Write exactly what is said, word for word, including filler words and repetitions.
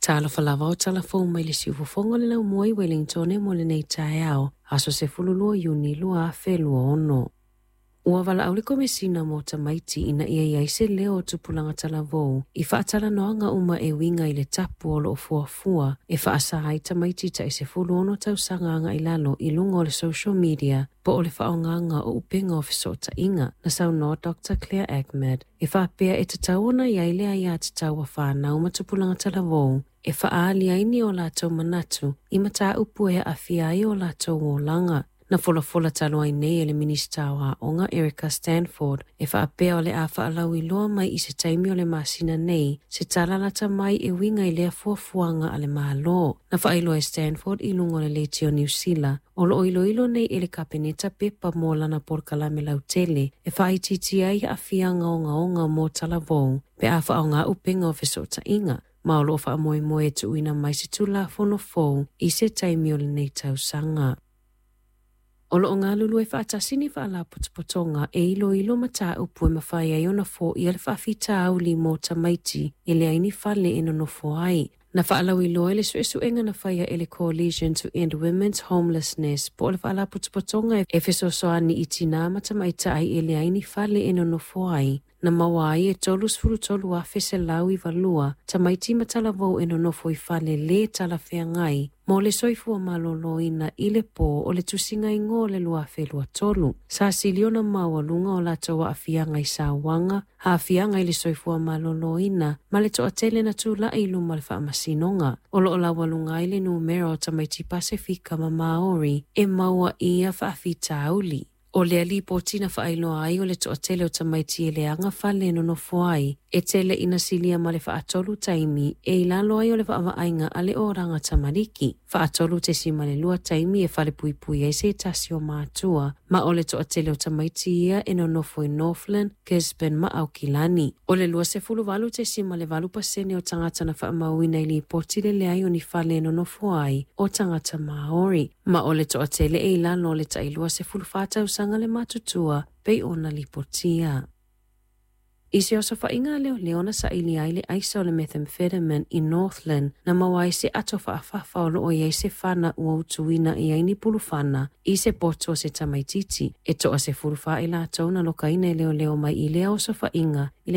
Talofa lava o talafou mai le siufofoga o le laumua i Wellington mo lenei taeao, aso sefululua Iuni lua afe lua ono. Ua valaau le Komesina mo Tamaiti ina ia i ai se leo o tupulaga talavou i faatalanoaga uma e uiga i le tapu o loo fuafua e faasa ai tamaiti tai sefulu ono tausaga agai lalo i luga o le social media po o le faaaogaga o upega o fesootaiga. Na saunoa Doctor Claire Ahmed e faapea e tatau ona i ai le aiatatau a fanau ma tupulaga talavou e faaali ai ni o latou manatu i mataupu e aafia ai o latou olaga. Na folafola talu ai nei e le Minisita o Aoga Erica Stanford e faapea o le a faalauiloa mai i se taimi o le masina nei se tala lata mai e uiga i lea fuafuaga a le Malo. Na faailoa e Stanford i luga o le leitio Niu Sila o loo iloilo nei e le Kapeneta pepa mo lana polokalame lautele e faaitiitia ai aafiaga ogaoga mo talavou pe a faaaoga upega o fesootaiga. Ma o loo faamoemoe e tuuina mai se Tulafono fou i se taimi o lenei tausaga. O loo galulue faatasi ni faalapotopotoga e iloilo mataupu e mafai ai ona foia le faafitauli mo tamaiti e leai ni fale e nonofo ai. Na faalauiloa e le suesuega na faia e le Coalition to End Women's Homelessness po o le faalapotopotoga e fesoasoani i tinā ma tamaitai e leai ni fale e nonofo ai. Na maua ai e tolu sefulu tolu afe selau iva lua tamaiti ma talavou e nonofo i fale le talafeagai mo le soifua maloloina i le pō o le tusiga igoa o le lua afe lua tolu. Sa sili ona maualuga o latou aafiaga i sauaga, aafiaga i le soifua maloloina ma le toatele na tulai i luma o le faamasinoga. O loo laualuga ai le numera o tamaiti Pasefika ma Maori e maua i ia faafitauli. O lea lipoti na faailoa ai o le toatele o tamaiti e leaga fale e nonofo ai, e tele ina silia ma le faatolu taimi e i lalo ai o le vaavaaiga a le oraga tamariki. Faatolu tesima le lua taimi e fale puipui ai se tasi o matua, ma o le toatele o tamaiti ia e nonofo i Northland, Gisborne ma Aukilani. O le lua sefulu valu tesima le valu pasene o tagata na faamauina i lipoti le leai o ni fale e nonofo ai o tagata Maori. Ma o le toatele e i lalo o le tailua sefulu fa tausaga le matutua pei ona lipotia. I se osofaiga leoleo na saili ai le aisa o le methamphetamine i Northland na maua ai se ato faafafa o loo i ai se fana ua utuina i ai ni pulufana i se poto o se tamaititi. E toasefulu fa i latou na lokaina e leoleo mai i lea osofaiga i le